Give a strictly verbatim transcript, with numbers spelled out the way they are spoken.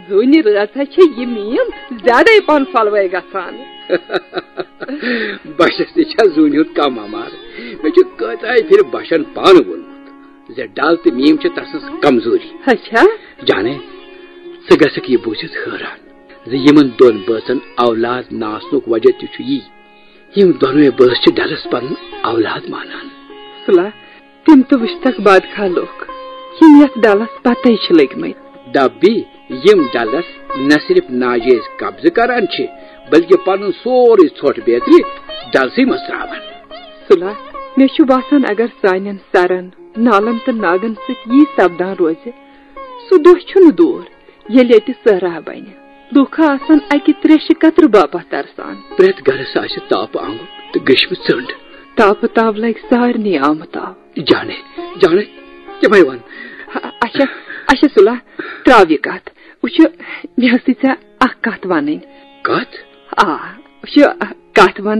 زوٗنہِ رٲژ ہا چھےٚ یہِ میٖم زیادَے پَہَن پھۄلوَے گژھان۔ بَچَس تہِ چھا زوٗنہِ ہُنٛد کَم اَمار؟ مےٚ چھُ کۭژاہ پھِرِ بَچَن پانہٕ ووٚنمُت زِ ڈَل تہٕ میٖم چھِ تَسٕنٛز کمزوٗری۔ اچھا؟ جانے، ژٕ گژھکھ یہِ بوٗزِتھ حٲران زِ یِمَن دۄن بٲژَن اولاد نہٕ آسنُک وجہ تہِ چھُ یی، یِم دۄنوَے بٲژ چھِ ڈَلَس پَنُن اولاد مانان۔ سُلا، تِم تہٕ وٕچھتکھ بادخاہ لُکھ، یِم یَتھ ڈَلَس پَتَے چھِ لٔگۍ مٕتۍ۔ دَپ بی، یِم ڈَلَس نہ صرف ناجٲیز قبضہٕ کران چھِ، بلکہِ پَنُن سورُے ژھۄٹھ بیترِ ڈَلسٕے منٛز ترٛاوان۔ سُلا، مےٚ چھُ باسان، اگر سانٮ۪ن سَرَن، نالَن تہٕ ناگَن سۭتۍ یی سپدان روزِ، سُہ دۄہ چھُنہٕ دوٗر، ییٚلہِ ییٚتہِ صحرا بَنہِ۔ لوٗکھ آسَن اَکہِ ترٛیشہِ قطرٕ باپتھ ترسان۔ پرٛٮ۪تھ گرس آسہِ تاپہٕ آنٛگُن تہٕ گٔشمہٕ ژٔنٛڈ۔ تاپہٕ تاو لگہِ سارنٕے آمہٕ تاو۔ جانے، جانے، تِمے وَن۔ اچھا، اچھا سُلا، ترٛاو یہِ کتھ۔ وٕچھ، مےٚ ٲسٕے ژےٚ اکھ کتھ وَنٕنۍ۔ کتھ؟ آ، وٕچھ، کتھ وَن